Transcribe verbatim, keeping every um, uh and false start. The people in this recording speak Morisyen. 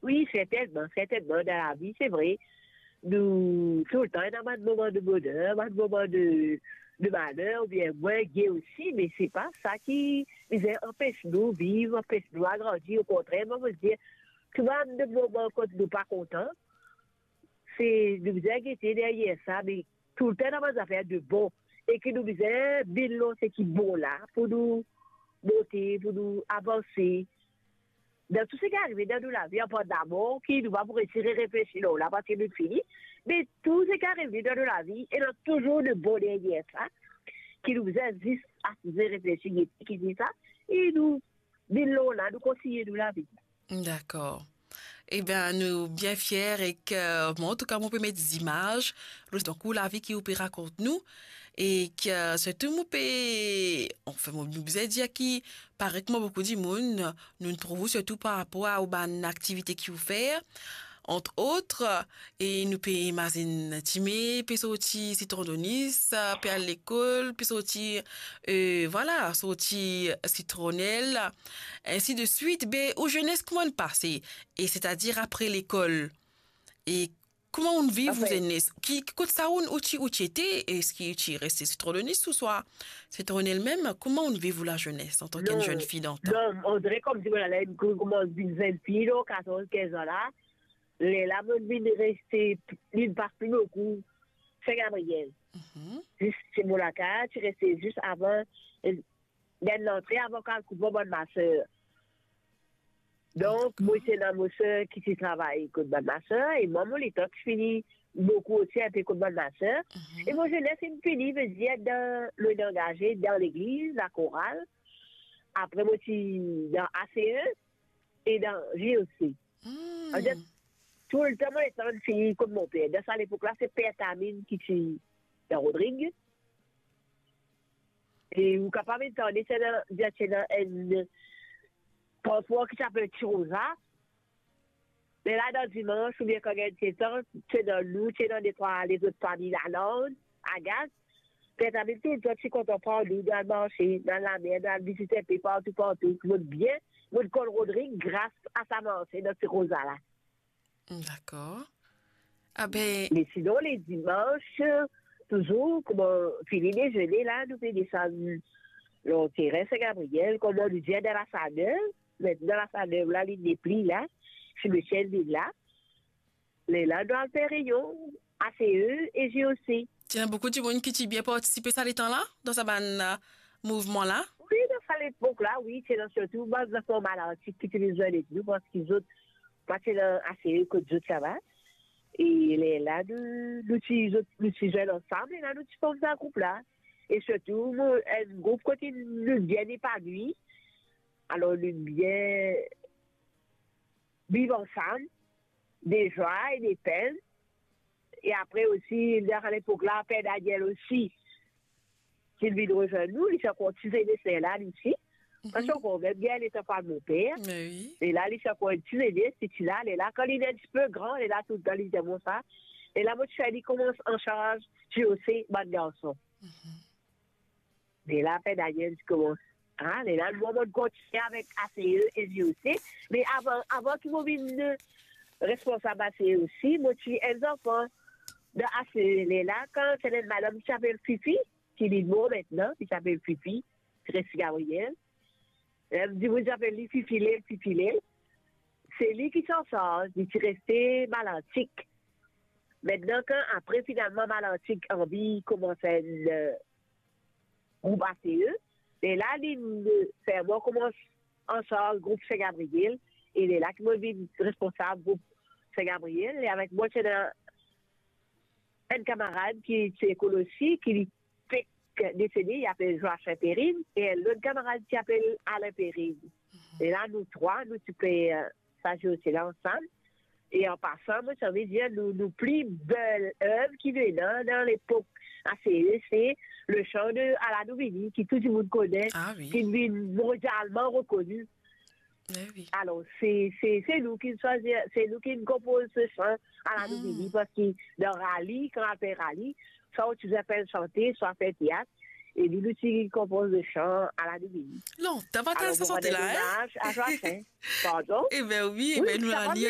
Wi, sertennman, sertennman, dan lavi, se vre, nou toultan ena bann moman de boner, bann moman de, de maler, oubien mwin ge osi, me se pa sa ki bizin anpes nou viv, anpes nou agrandi. Okontrer, mo dir, tou bann de moman kot nou pa kontan, se nou bizin gete deryer sa, me toultan ena bann zafer de bon, e ki nou bizin vinn lor seki bon la, pou nou monte, pou nou avanse. Dan tou seki arive dan nou lavi, apar lamor, ki nou pa pou resi re-reflesi lor la, parski nou fini, me tou seki arive dan nou lavi, ena touzour de bon deryer sa, ki nou bizin zis asize reflesi, gete ki se sa, e nou vinn lor la, nou kontign nou lavi. Dakor. Ebin, nou bien fier ek, euh, bon, antouka, mo pe met zimaz, lor parkour lavi ki ou pe rakont nou, e ki, euh, sirtou mo pe, anfin, mo, nou bizin dir ki, parey kouma boukou dimoun, nou trouv ou sirtou par rapor a ou bann aktivite ki ou fer, ant ot, e nou pe imazinn Time pe sorti Sitron Donis, pe al lekol, pe sorti, euh, vwala, sorti sitronel, ainsi de suite. Be, ou zenes kouma inn pase? E setadir apre lekol? E kouma ou inn viv ou zenes? Ki, ki kot sa ou, ou ti, ou ti ete? Eski ou ti reste Sitron Donis ouswa sitronel mem? Kouma ou inn viv ou lazenes antan ki enn zenn fi dan tan? Non, on dirait comme si, voilà, là, une, une, une jeune fille, là, quatorze, quinze ans, là, lerla mo vinn reste, vinn pas pli boukou Saint-Gabriel. Mhm. Zis, se mo lakaz, ti reste zis avan, euh, dan lantre avan koup bann maser. Donk, mo ti ena mo ser ki ti travay kot bann maser, e mwa, mo letan ti fini boukou osi inpe kot bann maser. Mhm. E mo zenes inn fini, vedir dan, mo inn angaze dan legliz, lakoral. Apre, mo ti dan A C E e dan J O C. Hmm. Anfet, toultan mo letan fini kot mo per. Dan sa lepok la, se Per Tamin ki ti dan Rodrig. E ou kapav inn tande, ti ena, ti ena enn transpor ki ti apel Ti Roza. Me la, dan dimans, oubien kan gagn letan, ti ena nou, ti ena detrwa lezot fami Laland, Agas. Per Tamin toultan ti kontan pran nou, nou al marse, nou al lamer, nou al vizit inpe partou, partou. Mo bien, mo konn Rodrig gras a sa marse dan Ti Roza la. Dakor. Ah ben, me sinon, le dimans, touzour, kouma fini dezene la, nou pe desann lor terin Saint-Gabriel, kouma nou dir, dan Lasanev. Aster Lasanev la, li nepli la, simetier vinn la. Lerla nou al fer reyon, A C E e J O C. Ti ena boukou dimoun ki ti bien partisipe sa letan la, dan sa bann, euh, mouvman la? Wi, dan sa lepok la, wi, ti ena sirtou bann zanfan Malantik ki ti vinn zwenn ek nou, parski zot pa ti ena A C E kot zot ti ava. E lerla nou, nou ti, zot, nou ti zwenn ansam, e la nou ti form sa group la. E sirtou, nou, enn group kot nou bien epanwi. Alor, nou bien viv ansam, de zwa e de penn. E apre osi, dan sa lepok la, Per Daniel osi, ki vinn rezwenn nou, li ti ankor ti zenes lerla, li osi. Mhm. Parski ankor mem, bien letan pa mo per. Me wi. E la, li ti ankor ti zenes, li ti la, lerla, kan li vinn enn tipe gran, lerla, toultan, li dir mwa sa. E la, mo ti fer li koumans ansarz J O C bann garson. Mhm. Me la, Per Daniel ti koumans. Ah, lerla, mwa, mo kontigne avek A C E e J O C. Me avan, avan ki mo vinn, euh, responsab A C E osi, mo ti enn zanfan dan A C E. Lerla, kan ti ena enn madanm ki ti apel Fifi, ki li mor aster, ki ti apel Fifi, ti res Gabriel. Dimoun ti apel li Fifile, Fifile. Se li ki ti ansarz, li ti reste Malantik. Aster, kan apre, finalman, Malantik anvi koumans enn, euh, group A C E, e la, li, euh, fer mwa koumans ansarz group Saint-Gabriel, e lerla ki mo vinn responsab group Saint-Gabriel, e avek mwa, ti ena enn kamarad ki ti lekol osi, ki li fek desede, li apel Joachim Perrine, e enn lot kamarad ki apel Alain Perrine. Mhm. E la, nou trwa, nou ti pe, euh, sa J O C la ansam. E an pasan, mo ti anvi dir, nou, nou pli bel ev ki vinn dan lepok A C E, se le chant de Ala nou vini, ki tou dimoun kone, ah wi, ki vinn mondialman rekoni. Eh wi. Alor, se, se, se nou ki swazir, se nou ki konpoz se chant Ala nou vini, parski dan rali, kan apel rali, swa ou ti bizin fer sante, swa fer teat, e nou, nou ti konpoz se chant Ala nou vini. Non, ta pa... Alor, sa mo sante rann la, enn omaz a Joachim. Pardon? Wi, wi, sa pa mal.